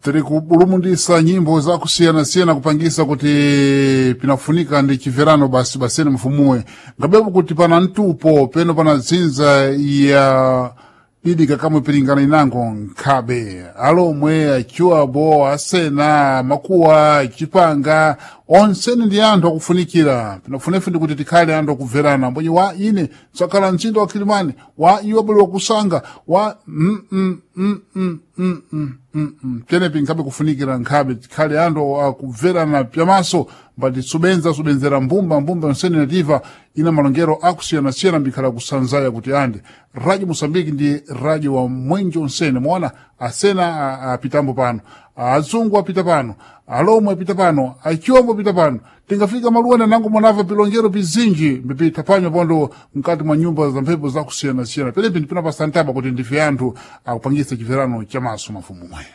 Tiri kubulumundisa nyimbo zakusiyana-siyana kupangisa kuti pinafunika ndi chimverano basi basene mfumuwe ngabepo kuti pana mtupo peno pana dzinza ya didika kamwe piringana inango nkhabe alomwe achiwabo asena makuwa chipanga onsene ndi anthu akufunikira pinafunefe ndi kuti tikhale anthu akubverana mbonye wa ine tsakhala mtsinda wa Kilimani wa iwo abale wakusanga wa tenepi nkhabe kufunikira nkhabe tikhale anthu akubverana pyamaso mbati subenza subenzera mbumba mbumba onsene nativa ina malongero akusiyanasiyana mbikhala kusanzaya kuti ande radio Mosambiki ndi radio wa mwenje onsene mwaona asena apitambo pano, azungu apita pano, alomwe apita pano, achiombo apita pano, tingafika maluwana nango mwanava pilongero pizinji mbipita panyo pondo mkati mwa nyumba za mphepo zakusiyanasiyana penepi ndipinapasantaba kuti ndife anthu akupangisa chimverano chamaso mafumumwe.